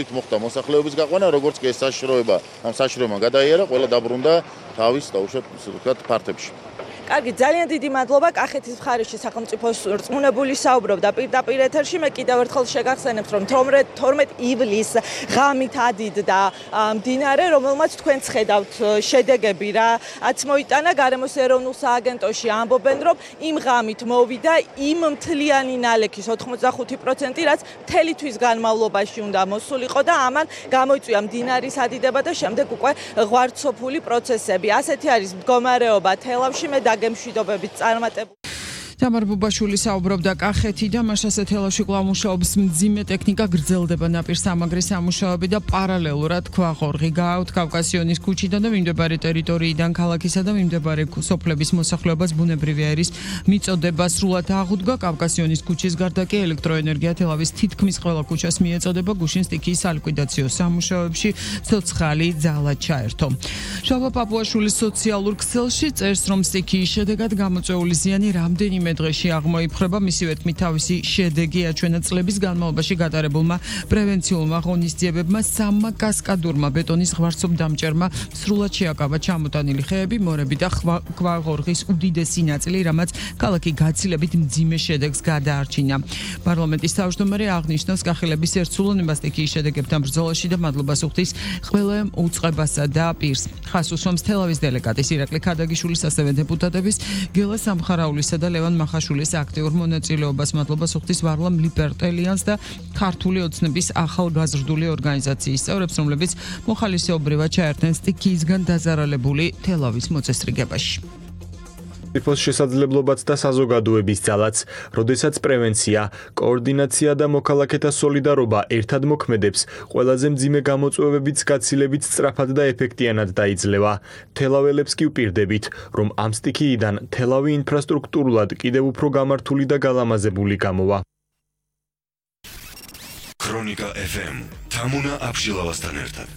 იქ მოხდა მოსახლეობის გაყვანა, როგორც კი ეს საშიშროება გადაიარა, ყველა დაბრუნდა თავის დაუშვათ, ასე ვთქვათ, ფართებში. კარგი, ძალიან დიდი მადლობა. კახეთის მხარეში სახელმწიფოს რწმუნებული საუბრობდა პირდაპირ ეთერში. მე კიდევ ერთხელ შეგახსენებთ, რომ 12 ივლისს ღამით ადიდდა მდინარე, რომელმაც თქვენც ხედავთ შედეგები რაც მოიტანა. გარემოს ეროვნულ სააგენტოში ამბობენ, რომ იმ ღამით მოვიდა იმ მთლიანი ნალექის 85%, რაც მთელი თვის განმავლობაში უნდა მოსულიყო და ამან გამოიწვია მდინარის ადიდება და შემდეგ უკვე ღვარცოფული პროცესები. ასეთი არის მდგომარეობა თელავში. მე გემშვიდობებით წარმატებული. თამარ ბუბაშვილი საუბრობდა კახეთიდან, მას ასე თელავში კვლავ მუშაობს მძიმე ტექნიკა, გრძელდება ნაპირსამაგრის სამუშაოები და პარალელურად ქვაღორღი გააქვთ კავკასიონის ქუჩიდან და მიმდებარე ტერიტორიიდან ქალაქისა და მიმდებარე სოფლების მოსახლეობას ბუნებრივი აირის მიწოდება სრულად აღუდგა. კავკასიონის ქუჩის გარდა კი ელექტროენერგია თელავის თითქმის ყველა ქუჩას მიეწოდება. გუშინ სტიქიის სალიკვიდაციო სამუშაოებში ცოცხალი ძალა ჩაერთო. შალვა პაპუაშვილის სოციალურ ქსელში წერს, რომ სტიქიის შედეგად გამოწვეული ზიანი რამდენიმე დღეში აღმოიფხვრება. მისივე თქმით, თავისი შედეგი აჩვენა წლების განმავლობაში გატარებულმა პრევენციულმა ღონისძიებებმა, სამმა კასკადურმა ბეტონის ღვარცობ დამჭერმა სრულად შეაკავა ჩამოტანილი ხეები, მორები და ქვაღორღის უდიდესი ნაწილი, რამაც ქალაქი გაცილებით მძიმე შედეგს გადაარჩინა. პარლამენტის თავმჯდომარე აღნიშნავს კახელების ერთსულოვნება სტიქიის შედეგებთან ბრძოლაში და მადლობას უხდის ყველა უწყებასა და პირს. ხას უსვამს თელავის დელეგატის ირაკლი ქადაგიშვილის, ასევე დეპუტატების გელა სამხარაულისა და ლევან მახაშვილის აქტიურ მონაწილეობას. მადლობას უხდის ვარლამ ლიპერტელიანს და ქართული ოცნების ახალგაზრდული ორგანიზაციის წევრებს, რომლებიც მოხალისეობრივად ჩაერთნენ სტიქიისგან დაზარალებული თელავის მოწესრიგებაში. სახელმწიფოს შესაძლებლობაც და საზოგადოების ძალაც, როდესაც პრევენცია, კოორდინაცია და მოქალაქეთა სოლიდარობა ერთად მოქმედებს, ყველაზე მძიმე გამოწვევებიც გაცილებით სწრაფად და ეფექტიანად დაიძლევა. თელაველებს კი ვპირდებით, რომ ამ სტიქიიდან თელავი ინფრასტრუქტურულად კიდევ უფრო გამართული და გალამაზებული გამოვა. ქრონიკა FM თამუნა აბშილავასთან ერთად.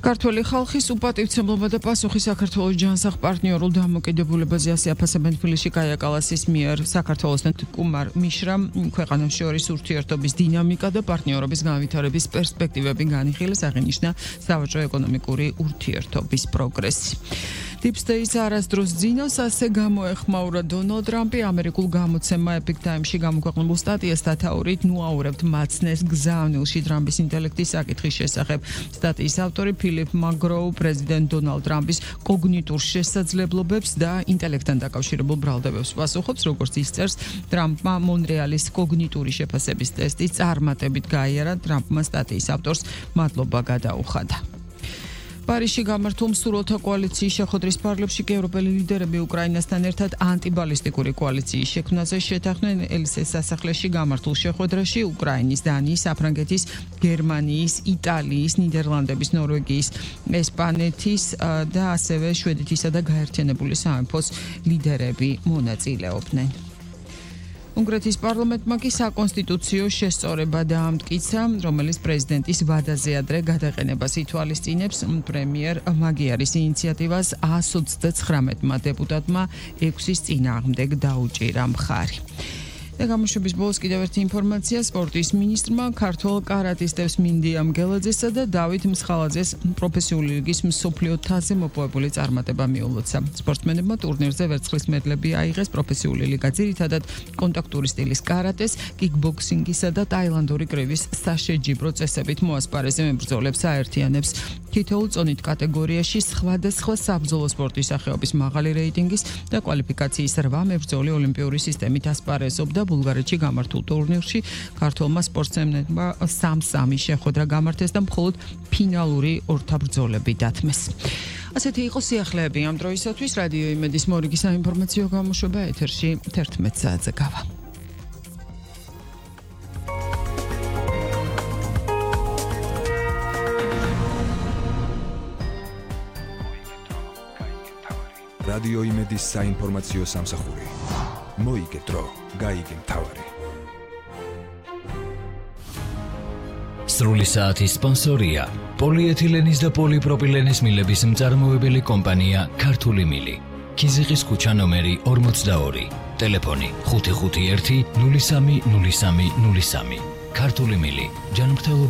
ქართველი ხალხის უპატივცემლობა და პასუხი საქართველოს ჯანსაღ პარტნიორულ დამოკიდებულებაზე ასე აფასებენ თბილისში კაია კალასის მიერ საქართველოსთან კუმარ მიშრამ ქვეყანებს შორის ურთიერთობის დინამიკა და პარტნიორობის განვითარების პერსპექტივები განიხილეს, აღინიშნა სავაჭრო ეკონომიკური ურთიერთობის პროგრესი. Deep State არასდროს ძინავს, ასე გამოეხმაურა დონალდ ტრამპი ამერიკულ გამოცემა Epic Times-ში გამოქვეყნებულ სტატიას დათაურით ნუაურებთ მაცნეს გზავნილში ტრამპის ინტელექტის საკითხის შესახებ. სტატიის ავტორი ფილიპ მაგროუ პრეზიდენტ დონალდ ტრამპის კოგნიტურ შესაძლებლობებს და ინტელექტთან დაკავშირებულ ბრალდებებს პასუხობს, როგორც ის წერს, ტრამპმა მონრეალის კოგნიტური შეფასების ტესტი წარმატებით გაიარა. ტრამპმა სტატიის ავტორს მადლობა გადაუხადა. პარიზში გამართულ მსურველთა კოალიციის შეხვედრის ფარგლებში კი ევროპელი ლიდერები უკრაინასთან ერთად ანტიბალისტიკური კოალიციის შექმნაზე შეთანხმდნენ. ელისეს სასახლეში გამართულ შეხვედრაში უკრაინის, დანიის, საფრანგეთის, გერმანიის, იტალიის, ნიდერლანდების, ნორვეგიის, ესპანეთის და ასევე შვედეთისა და გაერთიანებული სამეფოს ლიდერები მონაწილეობდნენ. უნგრეთის პარლამენტმა კი საკონსტიტუციო შესწორება დაამტკიცა, რომელიც პრეზიდენტის ვადაზე ადრე გადაყენებას ითვალისწინებს. პრემიერ მაგიარის ინიციატივას 129 დეპუტატმა 6-ის წინააღმდეგ დაუჭირა მხარი. და გამოშვების ბოლოს კიდევ ერთი ინფორმაცია. სპორტის მინისტრმა ქართველ კარატისტებს მინდია მგელაძესა და დავით მსხალაძეს პროფესიული ლიგის მსოფლიო თასზე მოპოვებული წარმატება მიულოცა. სპორტსმენებმა ტურნირზე ვერცხლის მედლები აიღეს. პროფესიული ლიგა ძირითადად კონტაქტური სტილის კარატეს, კიკბოქსინგისა და ტაილანდური კრივის საშეჯიბრო წესებით მოასპარეზე მებრძოლებს აერთიანებს. თითოეულ წონით კატეგორიაში სხვადასხვა საბრძოლო სპორტის სახეობის მაღალი რეიტინგის და კვალიფიკაციის 8 მებრძოლი ოლიმპიური სისტემით ასპარეზობდა. ბულგარეთში გამართულ ტურნირში ქართველმა სპორტსმენებმა 3-3 შეხვედრა გამართეს და მხოლოდ ფინალური ორთაბრძოლები დათმეს. ასეთი იყო სიახლეები ამ დროისათვის. რადიო იმედის მორიგი საინფორმაციო გამოშვება ეთერში 11 საათზე გავა. რადიო იმედის საინფორმაციო სამსახური. მოიგეთ დრო, გაიგე მთავარი. სრული საათის სპონსორია პოლიეთილენის და პოლიპროპილენის მილების მწარმოებელი კომპანია ქართული მილი. ქიზიყის ქუჩა ნომერი 42. ტელეფონი 551 030303. ქართული მილი, ჯანმრთელობის